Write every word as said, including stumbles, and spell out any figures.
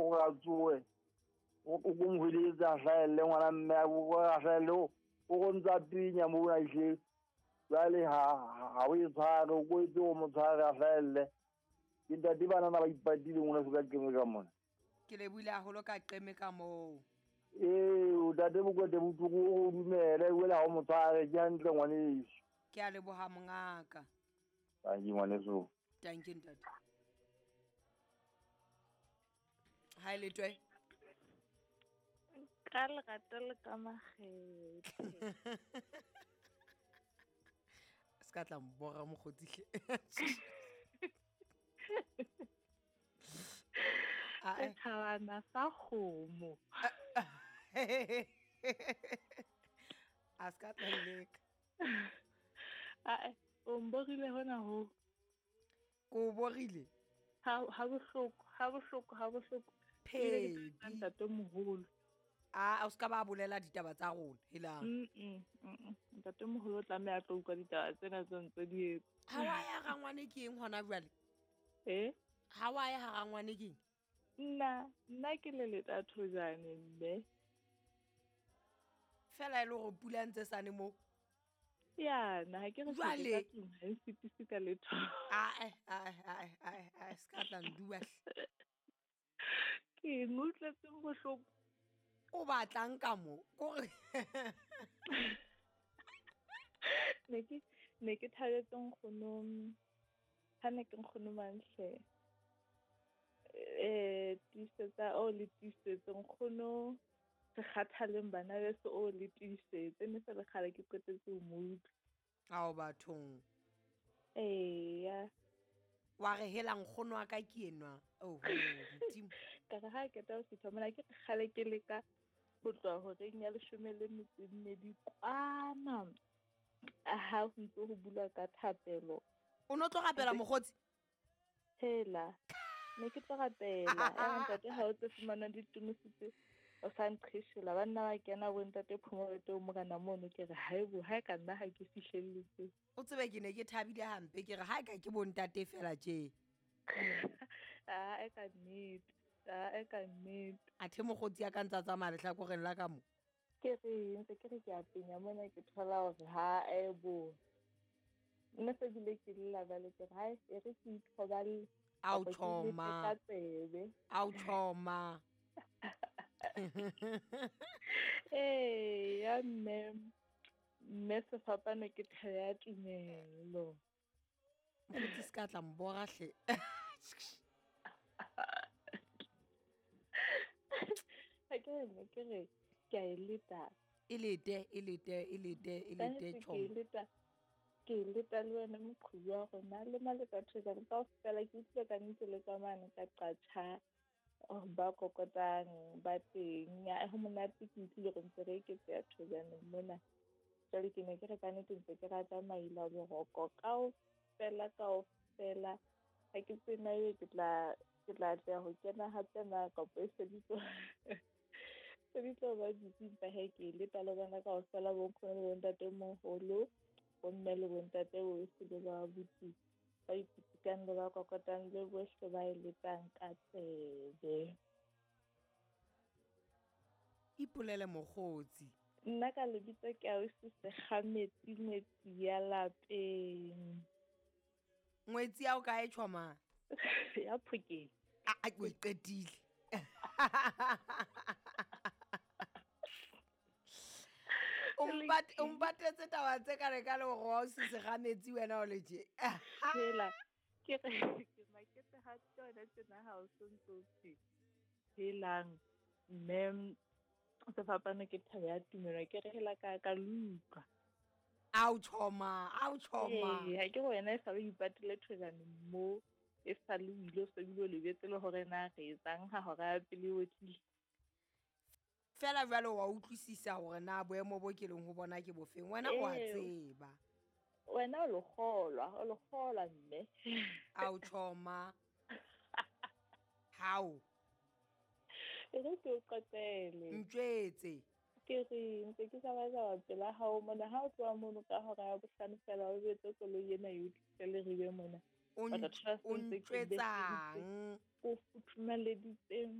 o a tsoe o ko mohweletsa a hlahelle ngwana mme o a hlahelle o go ntsa pinya mo a ihle jwale ha ha o e tshware o ko etse o mo tshware a hlahelle ke ntate bana ba ipatile ngwana se ka keme ka mona ke le buile haholo ka qeme ka moo ee o tate bokwete botlhoko o dumele wela ha o mo tshware ke hantle ngwaneso ke a leboha mongaka tanki ngwaneso tanki ntate ha ile twe ka lerato le ka makgethe se ka tla mbora mokgotsi a thabana sa kgomo a se ka tla leka a o mborile hona ho ko borile ha ha bohloko ha bohloko ha bohloko phedi ntate moholo a o ska ba bolela ditaba tsa rona helang mm mm ntate moholo o tlameha a tlo utlwa ditaba tsena tse ntse di etsa ha wa ya rangwane ke eng hona jwale eh ha wa ya ha rangwane ke eng nna nna ke le leta thojane mme fela e le hore pula ntse sane mo ya na ha ke re jwale ha e fitise ka letho a a a a a ska tla nduwa ke ngutletse bohloko o batlang ka mo kore ne ke ne ke thabetse nkgono ha ne ke nkgono manhle eh tiisetsa o le tiisetse nkgono se kgathaleng bana beso o le tiisetse ne se le kgale ke qetetse ho mo utlwa ao bathong eya wa re hela nkgono wa ka ke enwa oho modimo ka re ha ke tla o fihla mona ke kgale ke leka ho tloha horeng ya leshome le metso e mmedi kwana ha ho ntse ho bulwa ka thapelo o no tlo rapela mokgotsi hela ne ke tlo rapela ya ntate ha o tse fumana ditumisitse o sa nqheshela banna ba kena bo ntate Phomolete o morena mono ke re haebo ha ka nna ha ke fihlelletse o tsebe ke ne ke thabile hampe ke re ha ka ke bo ntate fela tje a e ka nnete a e ka nnete athe mokgotsi ya ka ntsa tsamaya lehlakoreng la ka mo ke re ntse ke re ke a penya mona ke thola hore ha ebo nna se bile ke lla bale ke re hai e re ke ithoballe ao choma ao choma eh ya mme mme sefapano ke thebe ya tumelo mokgotsi se ka tla mbora hle ha ke ne ke re ke a e leta e lete e lete e lete e lete ke choma leta ke leta le wena moqhubi wa rona le maleka thojane kaofela ke utlwile ka nnete le tsamane ka qatjha ba kokotang ba teng ya ho monate ke utlwile re ntse re eketseha thojane mona jwale ke ne ke re ka nnete ntse ke rata maila boroko kaofela kaofela ha ke tsena ebe ke tla ke tla atleha ho kena hape na kapa e se di tlo se di tlo ba busy empa hee ke leta le bona kaofela bo nkgono le bontate moholo bomme le bontate bohle le ba abuti ba ipitikang le ba kokotang le bohle ba e letang ka tsebe ipolele mokgotsi nna ka lebitso ke ausi Sekgametsi ngwetsi ya lapeng ngwetsi ya o kae choma ya Phokeng a a o qetile o mpatetse taba tse ka re ka le hore wa o se Sekgametsi wena o le tje hela ke re ke maketse ha tsona tsena ha o sontso tse helang mme sefapano ke thebe ya tumelo ke re hela ka ka luka ao choma ao choma ee ha ke wena e sa le ipatile thojane mo e sa le o ile o se bile o lebetse le hore na re etsang ha hora ya pele o tlile fela jwale wa utlwisisa hore na boemo bo ke leng ho bona ke bofeng wena o a tseba wena o lo kgolwa o lo kgolwa mme ao choma hao e re ke o qoqele ntjwetse ke re ntse ke tsamaya pela hao mona ha o tloha mono ka hora ya bohlano fela o betse koloi ena e o tlise le ribe mona o ntjwetsang o futhumaleditseng